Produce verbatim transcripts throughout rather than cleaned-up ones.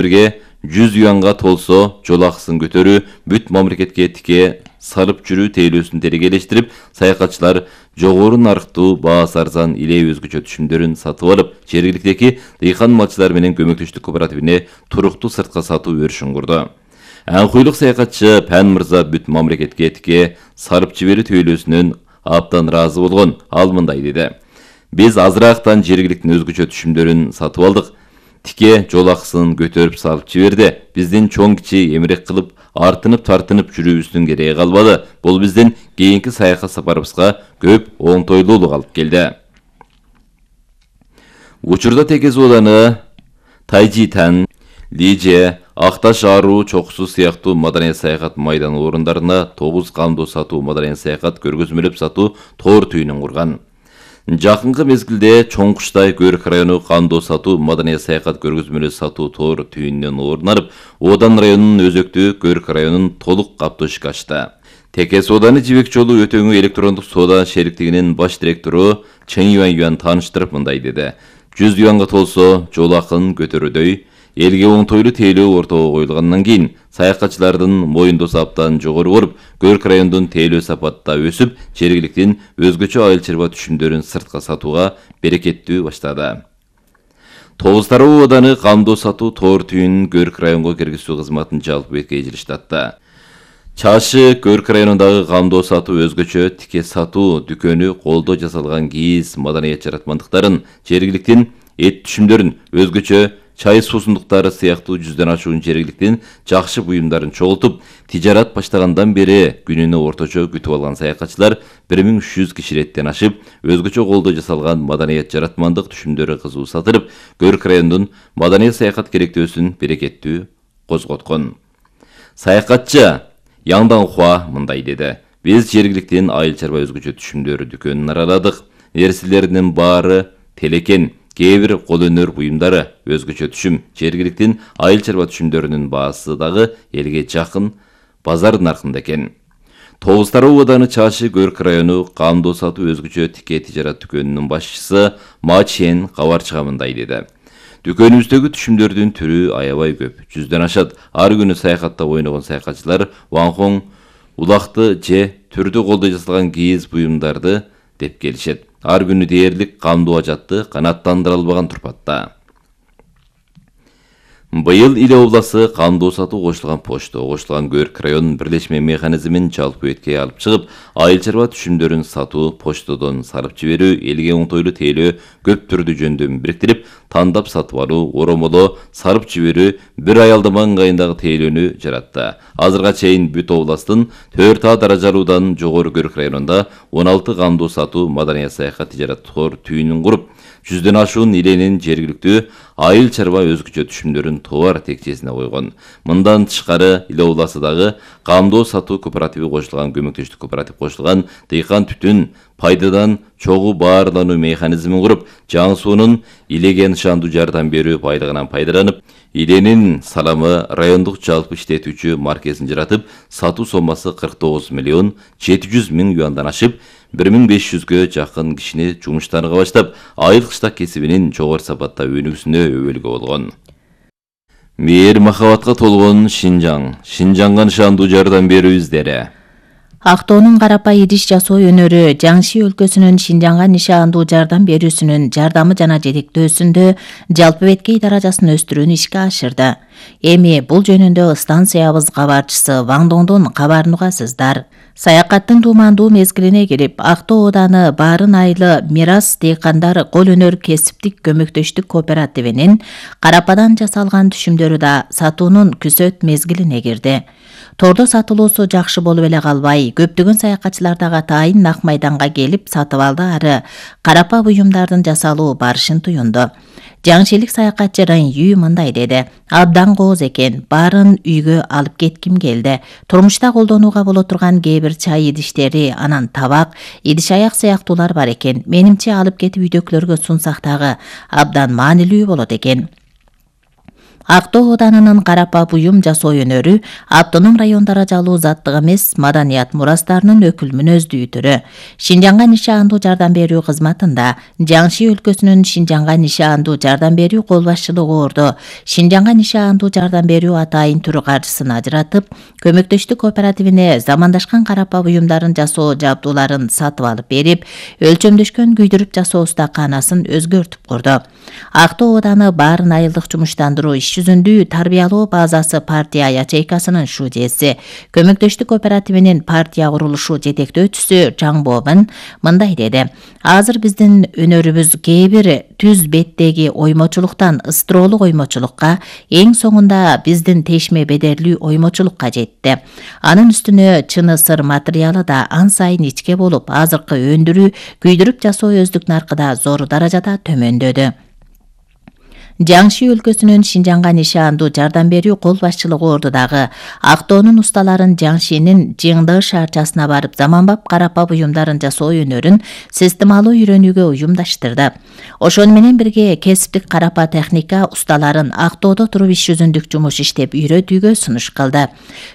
бирге жүз юанга толсо жол акысын көтөрүү, бүт мамлекетке тике салып жүрүү тейлөөсүн терегелештирип, саякатчылар жогору нарыктуу, баасы арзан иле өзгөчө түшүмдөрүн сатып алып, жергиликтеги дыйкан малчылар менен көмөктөштүк кооперативине туруктуу сыртка сатуу өрүшүн курду. Аңкуйлук саякатчы Пән мырза бүт мамлекетке тике сарып жиберүү тейлөөсүнөн абдан ыраазы болгон. Ал мындай деди: "Биз азыраактан жергиликтин өзгөчө түшүмдөрүн сатып алдык. Тике жол акысын көтөрүп салып жиберди. Биздин чоң кичи эмерек кылып, артынып тартынып жүрүүбүздүн кереги калбады. Бул биздин кийинки саякат сапарыбызга көп оңтойлуулук алып келди." Учурда Текес ооданы Тайжитан, Лиже, Акташ Аруу чокусу сыяктуу маданий саякат майдан орундарына тогуз камдоо сатуу маданий саякат көргөзмөлөп сатуу тоор түйүнүн курган. Жакынкы мезгилде Чоң Куштай Көрк району камдоо сатуу маданий саякат көргөзмөлөп сатуу тоор түйүнүнөн орун алып, Одан районунун өзөктүү Көрк районун толук каптоо ишке ачты. Текес ооданы жибек жолу өтөңү электрондук соода шериктигинин баш директору Чен Юан Юан тааныштырып мындай деди: жүз юанга толсо жол акын көтөрүүдөй элге оңтойлуу тейлөө ортого коюлгандан кийин саякатчылардын моюндосу абдан жогору болуп, Көрк районунун тейлөө сапатта өсүп, жергиликтин өзгөчө айыл чарба түшүмдөрүн сыртка сатууга берекеттүү баштады. Тогуз тароо ооданы камдоо сатуу тоор түйүнүн Көрк районго киргизүү кызматын жалпы бетке эжириштатты. Чашы Көрк районундагы камдоо сатуу өзгөчө тике сатуу дүкөнү колдо жасалган кийиз маданият жаратмандыктарын, жергиликтин эт түшүмдөрүн, өзгөчө чай суусундуктары сыяктуу жүздөн ашуун жергиликтин жакшы буюмдарын чогултуп, тижарат баштагандан бери күнүнө орточо күтүп алган саякатчылар бир миң үч жүз кишилеттен ашып, өзгөчө колдо жасалган маданият жаратмандык түшүмдөрү кызуу сатылып, Көрк районунун маданий саякат керектөөсүн берекеттүү козготкон. Саякатчы Яңдан Хуа мындай деди: "Биз жергиликтин айыл чарба өзгөчө түшүмдөрү дүкөнүн араладык. Нерселердин баары телекен, кээ бир кол өнөр буюмдары өзгөчө түшүм, жергиликтин айыл чарба түшүмдөрүнүн баасы дагы элге жакын базар наркында экен." Тогуз тароо ооданы Чашы Көрк району камдоо сатуу өзгөчө тике тижарат дүкөнүнүн башчысы Ма Чен кабарчыга мындай деди: "Дүкөнүбүздөгү түшүмдөрдүн түрү аябай көп, жүздөн ашат. Ар күнү саякатта ойногон саякатчылар ваңхоң, улакты же түрдүү колдо жасалган кийиз буюмдарды деп келишет. Ар күнү дээрлик камдуу ажатты канааттандыра албаган турпатта." Быйыл Иле обласы камдоо сатуу кошулган почто кошулган Көрк районунун бирлешме механизмин жалпы бетке алып чыгып, айыл чарба түшүмдөрүн сатуу, почтодон салып жиберүү, элге оңтойлуу тейлөө көп түрдүү жөндөмүн бириктирип, тандап сатып алуу, оромолоо, сарып жиберүү, бир аялдама ыңгайындагы тейлөөнү жаратты. Азырга чейин бүт областын төрт А даражалуудан жогору Көрк районунда он алты камдоо сатуу маданий саякат тижарат тоор түйүнүн куруп, жүздөн ашуун иленин жергиликтүү айыл чарба өзгөчө түшүмдөрүн товар текчесине койгон. Мындан тышкары Иле обласындагы камдоо сатуу кооперативи кошулган көмөктөштүк кооператив кошулган дыйкан түтүн пайдадан чогуу баарлануу механизмин куруп, жаңы суунун Илеге нышандуу жардам берүү байлыгынан пайдаланып, иленин саламы райондук жалпы иштетүүчү маркесин жаратып, сатуу соммасы кырк тогуз миллион жети жүз миң юандан ашып, бир миң беш жүзгө жакын кишини жумуштарга баштап, айыл кыштак кесибинин жогору сапатта өнүгүүсүнө өбөлгө болгон. Мээр махабатка толгон Шинжаң, Шинжаңга нышандуу жардам берүү издери. Актоонун карапа идиш жасоо өнөрү Жаңши өлкөсүнүн Шинжаңга нишандуу жардам берүүсүнүн жардамы жана жетектөөсүндө жалпы беткей даражасын өстүрүүнү ишке ашырды. Эми бул жөнүндө станциябыз кабарчысы Ваңдоңдон кабарын угасыздар. Саякаттын туумандуу мезгилине кирип, Актоо ооданы Баарын айылы Мирас дыйкандар кол өнөр кесиптик көмөктөштүк кооперативинин карападан жасалган түшүмдөрү да сатуунун күзөт мезгилине кирди. Тордо сатылуусу жакшы болуп эле калбай, көптөгөн саякатчылар дагы атайын Ак майданга келип сатып алды, ары карапа буюмдардын жасалуу барышын туюнду. Жаңшилик саякатчы Рын Үй мындай деди: "Абдан кооз экен, баарын үйгө алып кетким келди. Турмушта колдонууга боло турган кээ бир чай идиштери, анан табак, идиш аяк сыяктуулар бар экен. Менимче алып кетип үйдөгүлөргө сунсак дагы абдан маанилүү болот экен." Актоо Ауданынын карапа буюм жасоо өнөрү автоном район даражалуу заттык эмес маданият мурастарынын өкүл мүнөздүү түрү. Шинжаңга нишаандуу жардам берүү кызматында Жаңши өлкөсүнүн Шинжаңга нишаандуу жардам берүү кол башчылыгы ордо Шинжаңга нишаандуу жардам берүү атайын түрү каржысын ажыратып, көмөктөштүк кооперативине замандашкан карапа буюмдарын жасоо жабдууларын сатып алып берип, өлчөмдөшкөн күйдүрүп жасоо устаканасын өзгөртүп курду. Актоо Ауданы баарын айылдык жумуштандыруу иш жүзүндүү тарбиялоо базасы партия ячейкасынын шудеси, көмөктөштүк кооперативинин партия курулушу жетектөөчүсү Жаңбобун мындай деди: Азыр биздин өнөрүбүз кээ бир түз беттеги оймочулуктан ыстыроолук оймочулукка, эң соңунда биздин тешме бедерлүү оймочулукка жетти. Анын үстүнө чыны сыр материалы да ан сайын ичке болуп, азыркы өндүрүү күйдүрүп жасоо өздүк наркыда зор даражада төмөндөдү. Жаңши өлкөсүнүн Шинжаңга нишаандуу жардам берүү кол башчылыгы ордудагы Актоонун усталарын Жаңшинин Жыңды шаарчасына барып заманбап карапа буюмдарын жасоо өнөрүн системалуу үйрөнүүгө уюмдаштырды. Ошону менен бирге кесиптик карапа техника усталарын Актоодо туруп иш жүзүндүк жумуш иштеп үйрөтүүгө сунуш кылды.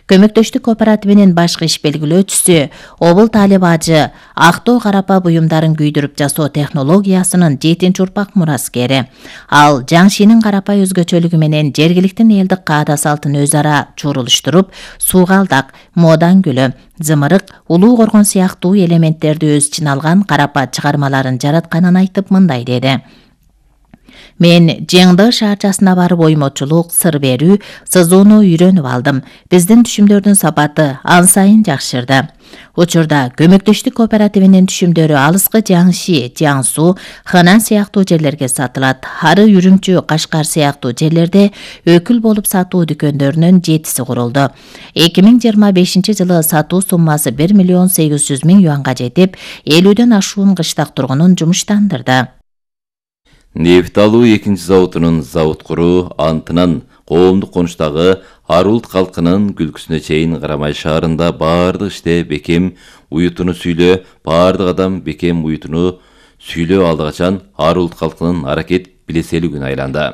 Көмөктөштүк кооперативинин башкы иш белгилөөчүсү Обул Талип ажы Актоо карапа буюмдарын күйдүрүп жасоо технологиясынын жетинчи урпак мураскери. Ал Жаңшинин карапа өзгөчөлүгү менен жергиликтин элдик каада салтын өз ара чурулуштуруп, суугалдак, модан гүлү, зымырык, улуу коргон сыяктуу элементтерди өз ичине алган карапа чыгармаларын жаратканын айтып мындай деди: Мен Жыңды шаарчасына барып оймочулук, сыр берүү, сызууну үйрөнүп алдым. Биздин түшүмдөрдүн сапаты ан сайын жакшырды. Учурда көмөктөштүк кооперативинин түшүмдөрү алыскы Жаңши, Жаңсу, Ханан сыяктуу жерлерге сатылат. Ары Үрүмчү, Кашкар сыяктуу жерлерде өкүл болуп сатуу дүкөндөрүнүн жетиси курулду. эки миң жыйырма бешинчи жылы сатуу суммасы бир миллион сегиз жүз миң юанга жетип, элүүдөн ашуун кыштак тургунун жумуштандырды. Нефт алуу экинчи заводунун завод куруу антынан коомдук конуштагы Арулт калкынын күлкүсүнө чейин Карамай шаарында баардык иште бекем уютуну сүйлөө, баардык адам бекем уютуну сүйлөө алды качан Арулт калкынын аракет билеселигүн айланды.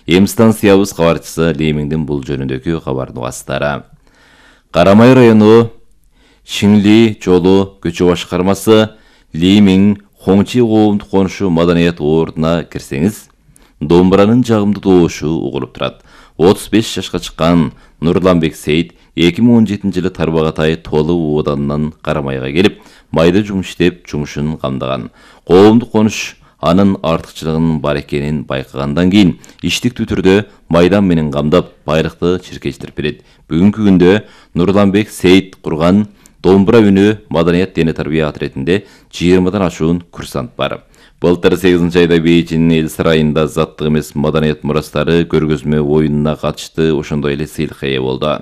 Эм станциябыз кабарчысы Лемиңдин бул жөнүндөгү кабардын угастары. Карамай району Шиңли жолу көчө башкармасы Лемиң Хоңчи коомдук конушу маданият ордуна кирсеңиз, домбуранын жагымдуу добушу угулуп турат. отуз беш жашка чыккан Нурланбек Сейит эки миң он жетинчи жылы Тарбагатай Толу Оданынан Карамайга келип, майда жумуш иштеп, жумушун камдаган. Коомдук конуш анын артыкчылыгынын бар экенин байкагандан кийин иштиктүү түрдө майдан менен камдап, байлыкты чиркештирип берет. Бүгүнкү күндө Нурланбек Сейит курган Домбура үнү маданият дене тарбия отрядинде жыйырмадан ашуун курсант бар. Былтыр сегизинчи айда Бейжиңдин эл сарайында заттык эмес маданият мурастары көргөзмө оюнуна катышты, ошондой эле сыйлыкка ээ болду.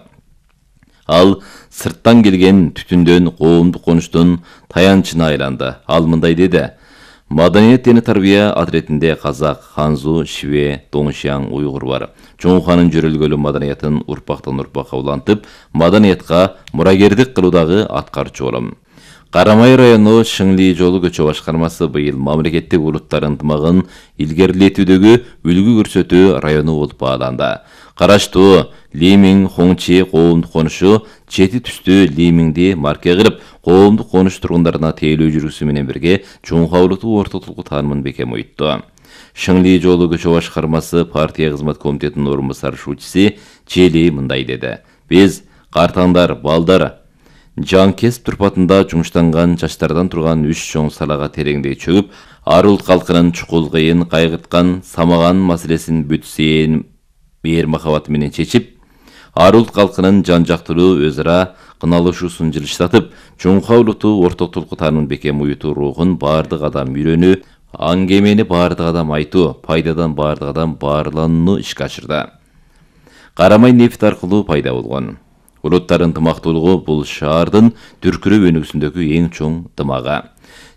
Ал сырттан келген түтүндөн коомдук конуштун таянчына айланды. Ал мындай деди: Маданият дене тарбия отрядинде казак, ханзу, шиве, доңшияң, уйгур бар. Чоңханын жөрөлгөлү маданиятын урпактан урпакка улантып, маданиятка мурагердик кылуудагы аткаруучу болом. Карамай району Шиңли жолу көчө башкармасы быйыл мамлекеттик улуттар ынтымагын илгерилетүүдөгү үлгү көрсөтүү району болуп бааланды. Караштуу Лемиң Хоңчи коомдук конушу чети түстүү Лемиңди марке кылып, коомдук конуш тургундарына тейлөө жүргүсү менен бирге чоңкаулутуу ортотулку таанымын бекем уйутту. Шиңли жолу көчө башкармасы партия кызмат комитетинин орун басарчысы Чели мындай деди: Биз картаңдар, балдар, жан кесип турпатында жумуштанган жаштардан турган үч чоң салага тереңдей чөгүп, Арулт калкынын чукул кыйын кайгырткан самаган маселесин бүтсейин мээр махабаты менен чечип, Арулт калкынын жан жактылуу өз ара кыналышуусун жылыштатып, чоңкаулутуу ортотулку таанымын бекем уютуу рухун баардык адам үйрөнүү, аңгемени баардык адам айтуу, пайдадан баардык адам баарланууну ишке ашырды. Карамай нефт аркылуу пайда болгон. Улуттар ынтымактуулугу бул шаардын дүркүрөп өнүгүүсүндөгү эң чоң дымагы.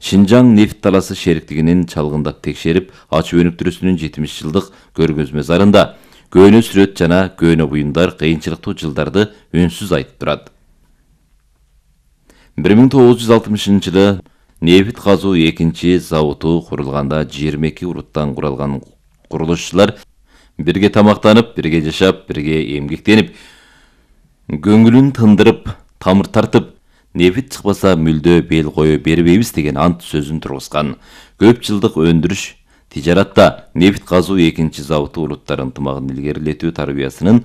Шинжаң нефт таласы шериктигинин чалгындап текшерип, ачуу өнүктүрүүсүнүн жетимиш жылдык көргөзмө зарында көөнө сүрөт жана көөнө буюмдар кыйынчылыктуу жылдарды үнсүз айтып турат. бир миң тогуз жүз алтымышынчы жылы нефт казуу экинчи заводу курулганда жыйырма эки улуттан куралган курулушчулар бирге тамактанып, бирге жашап, бирге эмгектенип, көңүлүн тындырып, тамыр тартып, нефит чыкпаса мүлдө бел кое бербейбиз деген ант сөзүн тургузган. Көп жылдык өндүрүш тижаратта нефит казуу экинчи заводу улуттар ынтымагын илгерилетүү тарбиясынын